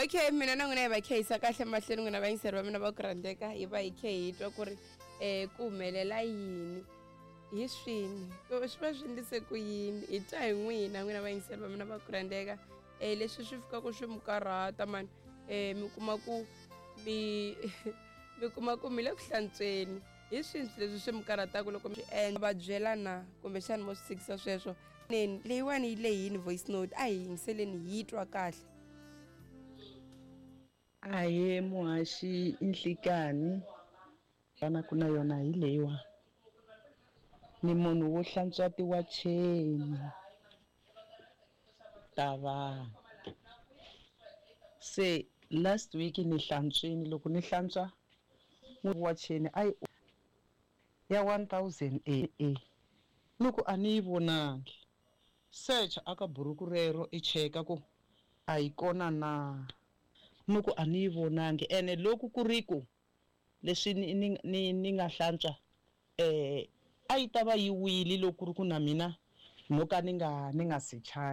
Okay, mina na n'wina hi va khehisa kahle mahlweni, n'wina vayingiseri va mina va ku rhandzeka, hi va hi khe hi twa ku ri ku humelela yini, hi swini, ku swi va swi endlise ku yini. Hi twa hi n'wina, n'wina vayingiseri va mina va ku rhandzeka, leswi swi fikaka swi mi karhata mani, mi kuma ku mi mi kuma ku mi le ku hlantsweni, hi swini swilo leswi swi mi karhataka loko mi swi endla, va byela na kumbexana mo swi tshikisa sweswo. Neni leyiwani yi lehini voice note, a hi yingiseleni hi twa kahle. Ahee muhaxi i nhlikani vana ku na yona hi leyiwa, ni munhu wo hlantswa tiwacheni ta vanhu. Se last week ni hlantswini, loko ni hlantswa wacheni a yi ya 1000 e e ni ku a ni yi vonangi, search aka buruku rero i cheka ku a yi kona na, ni ku a ni yi vonangi. Ene loko ku ri ku leswi ni ni ni ni nga hlantswa a yi ta va yi wile loko ku ri ku na mina no ka ni nga ni nga sechangi.